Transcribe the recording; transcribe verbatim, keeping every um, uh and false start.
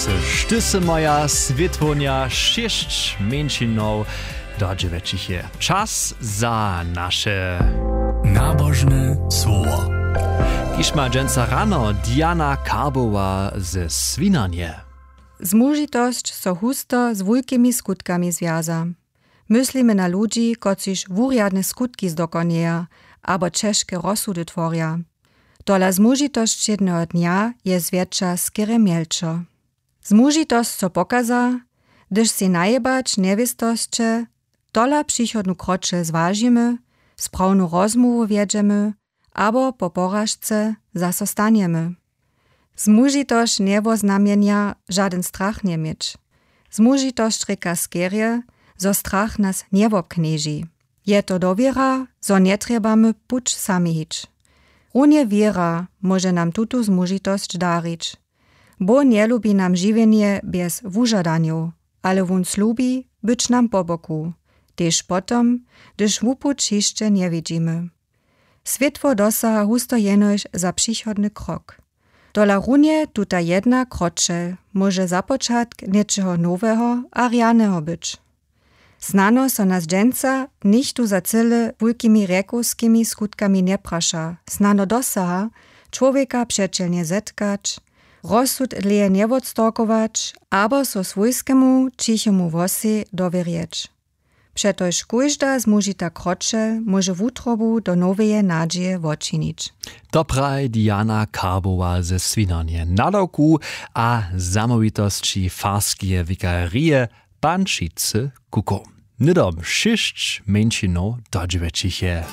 Šty sy moja swětłownja, šěsć mjeńšinow dodźěłećich je. Čas za naše nabožne słowo. Kiž ma dźensa rano Diana Karbowa ze Swinarnje. Zmužitosć so husto z wulkimi skutkami zwjaza. Myslimy na ludźi, kotřiž wurjadne skutki zdokonjeja abo ćežke rozsudy tworja. Tola zmužitosć wšědneho dnja je zwjetša skerje mjelčo. Zmužitosć so pokaza, hdyž sej najebać njewěstosće, tola přichodnu kročel zwažimy, sprawnu rozmołwu wjedźemy abo po poražce zaso stanjemy. Zmužitosć njewoznamjenja žadyn strach njeměć. Zmužitosć rěka skerje, zo strach nas njewobknježi. Je to dowěra, zo njetrjebamy puć sami hić. Runje wěra móže nam tutu zmužitosć darić. Bóh njelubi nam žiwjenje bjez wužadanjow, ale wón slubi być nam po boku, tež potom, hdyž wupuć hišće njewidźimy. Swětło dosaha husto jenož za přichodny krok. Tola runje tuta jedna kročel móže započatk něčeho noweho a rjaneho być. Snano so nas dźensa nichtó za cyle wulkimi rjekowskimi skutkami njepraša, snano dosaha čłowjeka přećelnje zetkać, rozsud dlěje njewotstawkować abo so swójskemu ćichemu włosej dowěrjeć. Přetož kóžda zmužita kročel móže wutrobu do noweje nadźije wočinić. To praji Diana Karbowa ze Swinarnje, nadawku a zamołwitosći farskeje wikarije Pančicy Kukow. Hnydom šěsć mjeńšinow dodźěłećich je.